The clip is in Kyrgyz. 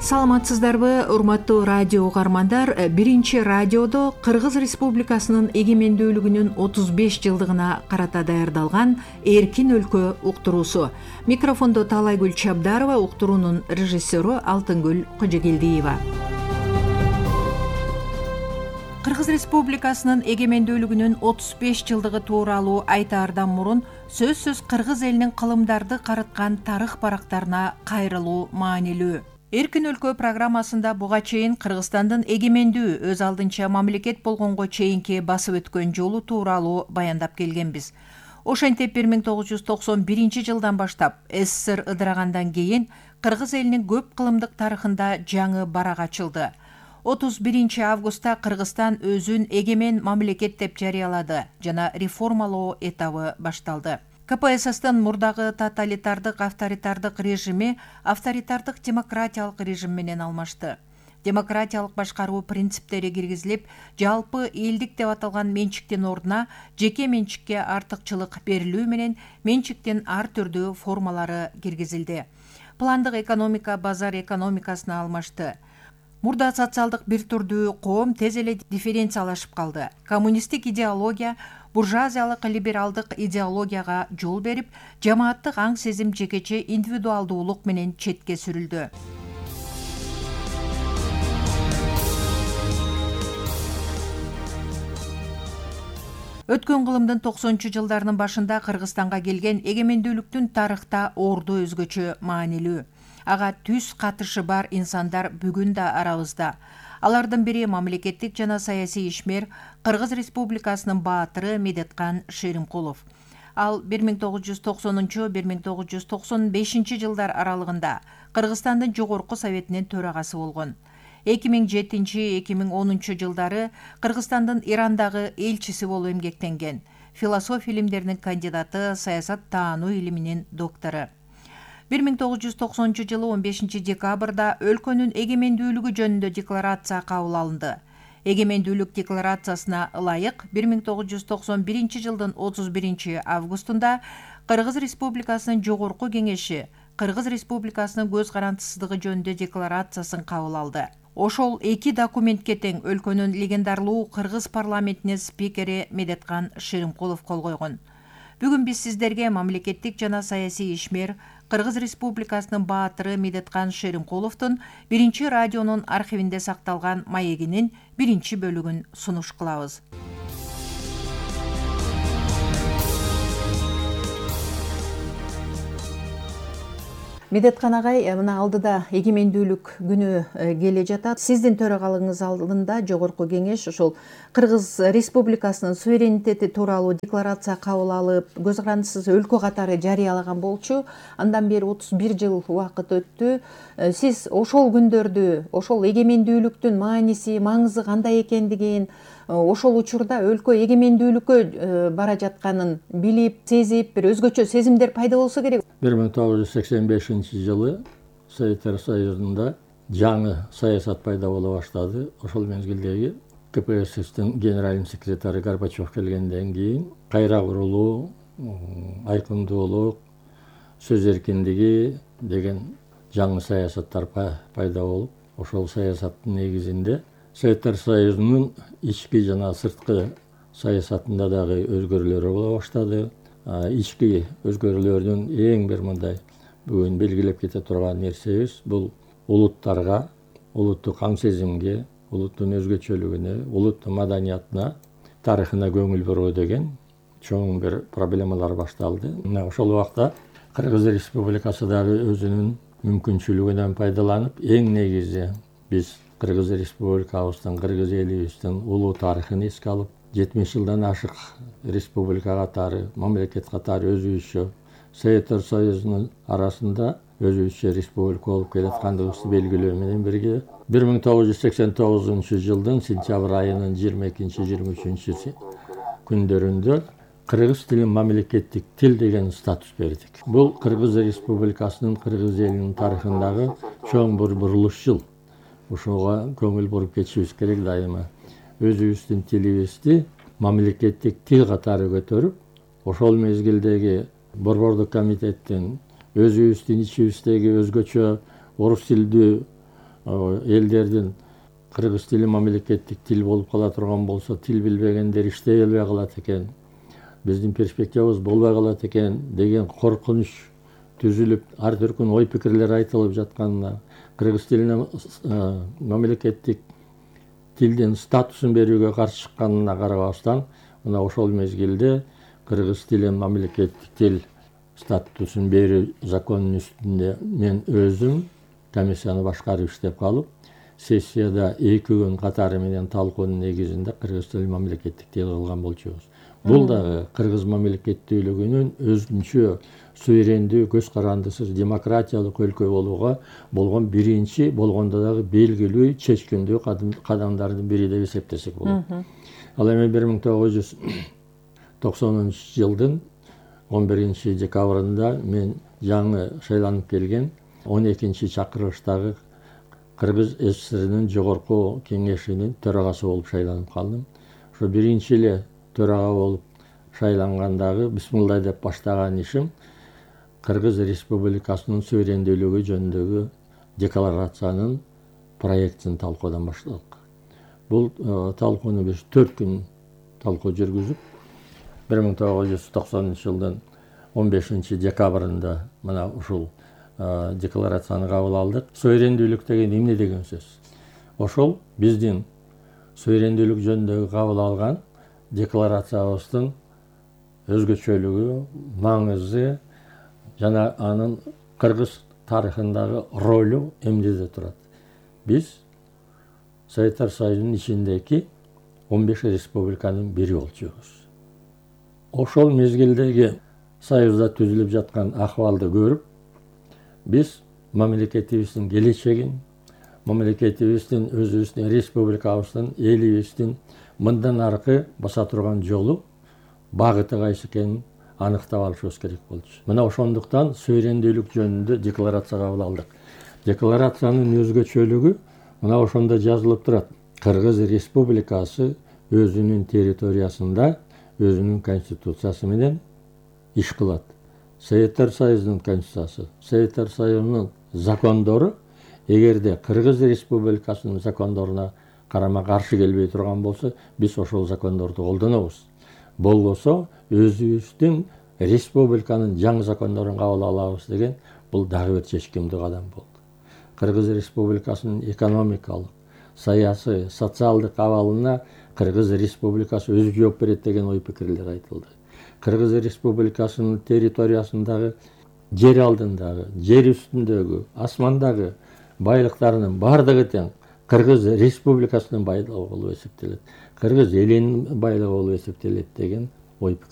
Саламатсыздарбы, урматтуу радио угармандар. Биринчи радиодо Кыргыз Республикасынын эгемендүүлүгүнүн 35 жылдыгына карата даярдалган Эркин өлкө уктуруусу. Микрофондо Таалайгүл Чабдарова, уктуруунун режиссеру Алтынгүл Кожогелдиева. Кыргыз Республикасынын эгемендүүлүгүнүн 35 жылдыгы тууралуу айтаардан мурун сөзсүз кыргыз элинин кылымдарды карыткан тарых барактарына кайрылуу маанилүү. Эркин өлкө программасында буга чейин Кыргызстандын эгемендүү өз алдынча мамлекет болгонго чейинки басып өткөн жолу тууралуу баяндап келгенбиз. Ошентип 1991 жылдан баштап СССР ыдырагандан кийин кыргыз элинин көп кылымдык тарыхында жаңы барак ачылды. 31 августта Кыргызстан өзүн эгемен мамлекет деп жарыялады жана реформалоо этабы башталды. КПССтын мурдагы тоталитардык авторитардык режими авторитардык демократиялык режим менен алмашты. Демократиялык башкаруу принциптери киргизилип, жалпы элдик деп аталган менчиктин ордуна жеке менчикке артыкчылык берилүү менен менчиктин ар түрдүү формалары киргизилди. Пландык экономика базар экономикасына алмашты. Мурда социалдык бир түрдүү коом тез эле дифференциялашып калды. Коммунисттик идеология буржуазиялык либералдык идеологияга жол берип, жамааттык аң сезим жекече индивидуалдуулук менен четке сүрүлдү. Өткөн кылымдын 90-жылдарынын башында Кыргызстанга келген эгемендүүлүктүн тарыхта орду өзгөчө маанилүү. Ага түз катышы бар инсандар бүгүн да арабызда. Алардын бири мамлекеттик жана саясий ишмер Кыргыз Республикасынын баатыры Медеткан Шеримкулов. Ал 1990-1995 жылдар аралыгында Кыргызстандын жогорку советинин төрагасы болгон. 2007-2010 жылдары Кыргызстандын Ирандагы элчиси болуп эмгектенген. Философия илимдеринин кандидаты, саясат таануу илиминин доктору. 1990 жылы 15 декабрда өлкөнүн эгемендүүлүгү жөнүндө декларация кабыл алынды. Эгемендүүлүк декларациясына ылайык 1991 жылдын 31 августунда Кыргыз Республикасынын жогорку кеңеши Кыргыз Республикасынын көз карандысыздыгы жөнүндө декларациясын кабыл алды. Ошол эки документке тең өлкөнүн легендарлуу Кыргыз парламентинин спикери Медеткан Шеримкулов кол койгон. Бүгүн биз сиздерге мамлекеттик жана саясий ишмер Кыргыз Республикасынын баатыры Медеткан Шеримкуловдун биринчи радионун архивинде сакталган маегинин биринчи бөлүгүн сунуш кылабыз. Медеткан агай, мына алдыда эгемендүүлүк күнү келе жатат. Сиздин төрагалыгыңыз алдында жогорку кеңеш ошол Кыргыз Республикасынын суверенитети тууралуу декларация кабыл алып, көз карандысыз өлкө катары жарыялаган болчу. Андан бери 31 жыл убакыт өттү. Сиз ошол күндөрдү, ошол эгемендүүлүктүн мааниси, маңызы кандай экендигин, ошол учурда өлкө эгемендүүлүккө бара жатканын билип, сезип, бир өзгөчө сезимдер пайда болсо керек. 1985 жылы Советтер Союзунда жаңы саясат пайда боло баштады. Ошол мезгилдеги КПССтин генеральный секретары Горбачев келгенден кийин кайра курулуу, айкындуулук, сөз эркиндиги деген жаңы саясаттар пайда болуп, ошол саясаттын негизинде Советтер Союзунун ички жана сырткы саясатында дагы өзгөрүүлөр боло баштады. Ички өзгөрүүлөрдүн эң бир мындай бүгүн белгилеп кете турган нерсебиз бул улуттарга, улуттук аң сезимге, улуттун өзгөчөлүгүнө, улуттун маданиятына, тарыхына көңүл буруу деген чоң бир проблемалар башталды. Мына ошол убакта Кыргыз Республикасы дагы өзүнүн мүмкүнчүлүгүнөн пайдаланып, эң негизи биз Кыргыз Республикабыздын, кыргыз элибиздин улуу тарыхын эске алып, 70 жылдан ашык республика катары, мамлекет катары өзүбүзчө Советтер Союзунун арасында өзүбүзчө республика болуп келаткандыгыбызды белгилөө менен бирге 1989 жылдын сентябрь айынын 22-23 күндөрүндө кыргыз тилин мамлекеттик тил деген статус бердик. Бул Кыргыз Республикасынын, кыргыз элинин тарыхындагы чоң бир бурулуш жыл. Ошого көңүл буруп кетишибиз керек дайыма. Өзүбүздүн тилибизди мамлекеттик тил катары көтөрүп, ошол мезгилдеги Борбордук комитеттин өзүбүздүн ичибиздеги өзгөчө орус тилдүү элдердин кыргыз тили мамлекеттик тил болуп кала турган болсо, тил билбегендер иштей албай калат экен, биздин перспективабыз болбой калат экен деген коркунуч түзүлүп, ар түркүн ой пикирлер айтылып жатканына, кыргыз тилине мамлекеттик тилдин статусун берүүгө каршы чыкканына карабастан, мына ошол мезгилде кыргыз тили мамлекеттик тил статусун берүү законунун үстүндө мен өзүм комиссияны башкарып иштеп калып, сессияда 2 күн катары менен талкуунун негизинде кыргыз тили мамлекеттик тил кылган болчубуз. Бул дагы кыргыз мамлекеттүүлүгүнүн өзүнчө суверендүү, көз карандысыз, демократиялык өлкө болууга болгон биринчи, болгондо дагы белгилүү, чечкиндүү кадамдардын бири деп эсептесек болот. Ал эми 1990-жылдын 11-декабрында мен жаңы шайланып келген 12-чакырылыштагы Кыргыз СССРнин жогорку кеңешинин төрагасы болуп шайланып калдым. Ошо биринчи эле төрага болуп шайлангандагы бисмилла деп баштаган ишим Кыргыз Республикасынын суверендүүлүгү жөнүндөгү декларациянын проектин талкуудан баштадык. Бул талкууну биз 4 күн талкуу жүргүзүп, 1990-жылдын 15-декабрында мына ушул декларацияны кабыл алдык. Суверендүүлүк деген эмне деген сөз? Ошол биздин суверендүүлүк жөнүндөгү кабыл алган декларациябыздын өзгөчөлүгү, маңызы жана анын кыргыз тарыхындагы ролу эмнеде турат? Биз Советтер Союзунун ичиндеги 15 республиканын бири болчубуз. Ошол мезгилдеги Союзда түзүлүп жаткан акыбалды көрүп, биз мамлекетибиздин келечегин, мамлекетибиздин, өзүбүздүн республикабыздын, элибиздин мындан аркы баса турган жолу, багыты кайсы экенин аныктап алышыбыз керек болчу. Мына ошондуктан суверендүүлүк жөнүндө декларация кабыл алдык. Декларациянын өзгөчөлүгү мына ошондо жазылып турат. Кыргыз Республикасы өзүнүн территориясында өзүнүн конституциясы менен иш кылат. Советтер Союзунун конституциясы, Советтер Союзунун закондору эгерде Кыргыз Республикасынын закондоруна карама каршы келбей турган болсо, биз ошол закондорду колдонобуз. Болбосо өзүбүздүн республиканын жаңы закондорун кабыл алабыз деген бул дагы бир чечкиндүү кадам болду. Кыргыз Республикасынын экономикалык, саясий, социалдык абалына Кыргыз Республикасы өзү жооп берет деген ой пикирлер айтылды. Кыргыз Республикасынын территориясындагы жер алдындагы, жер үстүндөгү, асмандагы байлыктарынын бардыгы тең Кыргыз Республикасынын байлыгы болуп эсептелет. Кыргыз элинин байлыгы болуп эсептелет деген ой пикир